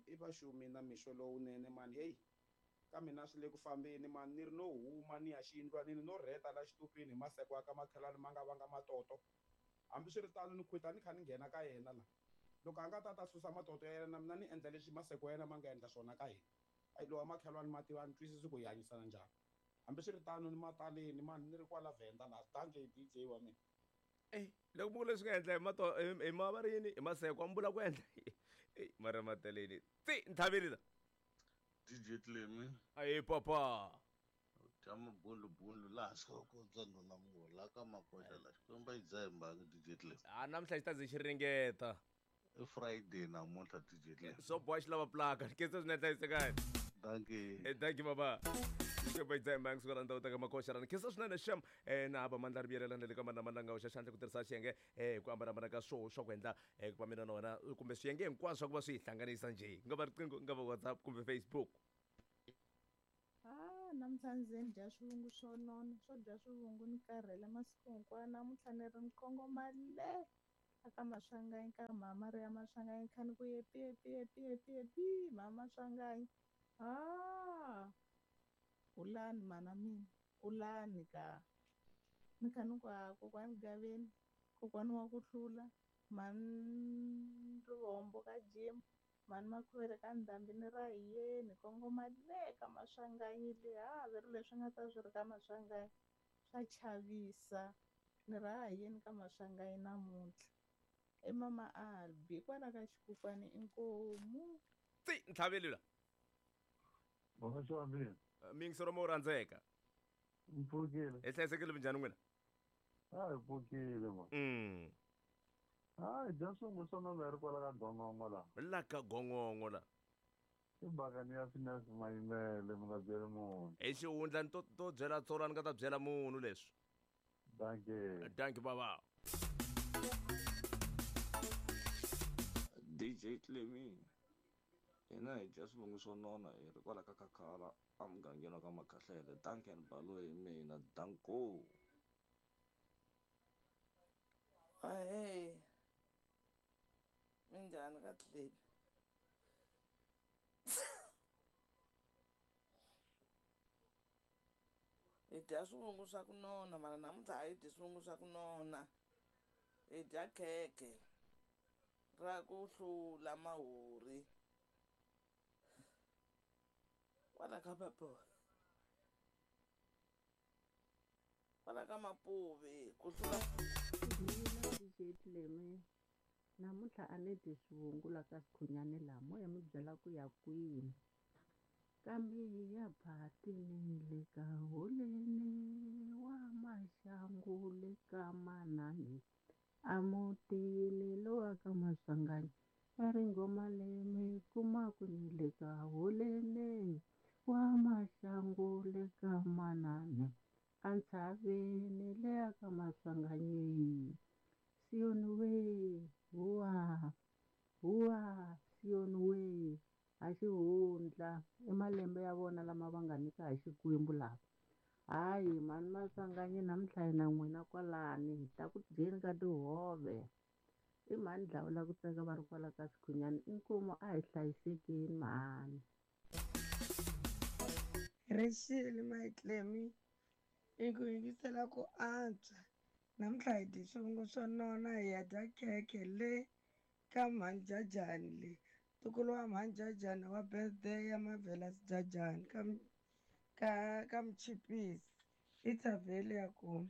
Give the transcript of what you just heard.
I vaxumi na mixo lowunene mani heyi ka mina swi le ku fambeni mani ni ri no huma ni ya xiyindlwanini no rheta la xitupini hi maseko ya ka makhelwani ma nga vanga matoto hambiswiritano ni khwita ni kha ni nghena ka yena la loko a nga ta ta susa matoto ya yena na mina ni endla leswi maseko ya yena ma nga endla swona ka hina ayi lowa makhelwani ma tiva ni twisisi ku hi hanyisana njhani hambiswiritano ni mataleni mani ni ri kwala Venda la dankie DJ wa mina. Ey loko mi ku leswi nga endla hi mato hi ma va ri yini hi maseko a mi vula ku endla ey mara mataleni tsi ntlhaveli la. DJ Clemy. Ayi papa. U dya mabundlubundlu laha swi ka ndhuna munhu la ka makoxa la xikwembu a yi dzahi mbangi DJ Clemy. A namuntlha xi ta ze xi ringeta. I Friday namuntlha DJ Clemy. Swo boha xi lava plaka. Khensa swinene hlayisekani. Dankie. Eh dankie baba. Xikwembu a yi dzahi mbangi suka la ndhawu ta ka makoxa rani. Khensa swinene xem eh na hava mandla ri vuyelelana le ka mana mananga hoxa xandla ku tirhisa xiyenge eh hi ku hambanahambana ka swoho swa ku endla eh ku va mina na wena kumbe swiyenge hinkwaswo swa ku va swi hi hlanganisa njhe. Ku nga va riqingho, ku nga va WhatsApp kumbe Facebook. Ah, namuntlha ndzi ze ni dya swivungu swo nona swo dya swivungu ni karhele masiku hinkwawo namuntlha ni ri ni kongoma le a ka Maswanganyi ka mhama ri ya Maswanganyi kha ni ku yepi yepi yepi yepi yepi mhama Maswanganyi ha kulani mhana mina kulani ka ni kha ni ku ha kokwani Gaveni kokwani wa ku hlula mhani Rivombo ka Jim Mhani Makhuvele ka ndhambi ni ra hi yeni kongoma le ka Maswanganyi le ha ve ri leswi nga ta swi ri ka Maswanganyi swa chavisa ni ra ha yeni ka Maswanganyi namuntlha i mama Albi kwala ka xikukwani inkomu. Tsi ntlhaveli la. Boxa wa mina. Miyingisero mo rhandzeka. Mpfukile. Hi hlayisekile minjhani n'wina? A hi pfukile ma. Hayi dya swingu swo nona hi ri kwala ka gongongo la. La ka gongongo la. I bakani ya finesse mayimele mi nga byeli munhu. Hi xihundla ni to to byela tsolo a ni nga ta byela munhu leswi. Dankie. Dankie baba. DJ Clemy hina hi dya swivungu swo nona hi ri kwala ka Khakhala emugangeni wa ka Makhahlele Duncan Baloyi hi mina danko. Ahee, minjhani ka Clemy? Hi dya swivungu swa ku nona mara namuntlha a hi dyi swivungu swa ku nona hi dya khekhe ra ku hlula mahori kwala ka Kwala ka Mapuve ku hlula. Mina DJ Clemy namuntlha a ni dyi swivungu la ka Sikhunyani laha mo ya mi byela ku ya kwini kambe ya phatini le ka holeni wa maxangu le ka manani a mutini lowa ka Maswanganyi va ri nghoma leyi mi yi kumaku ni le ka holeni wa maxangu le ka manani a ntshaveni leya ka Maswanganyi Siyoni we huwa huwa Siyoni we ha xihundla i malembe ya vona lama va nga nyika hi Xikwembu lava hayi mhani Maswanganyi namuntlha hi na n'wina kwalani hi ta ku dyeni ka tihove i mhani dlawula ku tsaka va ri kwala ka Sikhunyani inkomu a hi hlayisekeni mhani. Rixile my Clemmy i ku yingisela ku antswa namuntlha hi dye swivungu swo nona hi ya dya khekhe le ka mhani Jajani le ntukulu wa mhani Jajani wa birthday ya Marvelous Jajani ka ka ka Mchipisi i thavheli ya kona.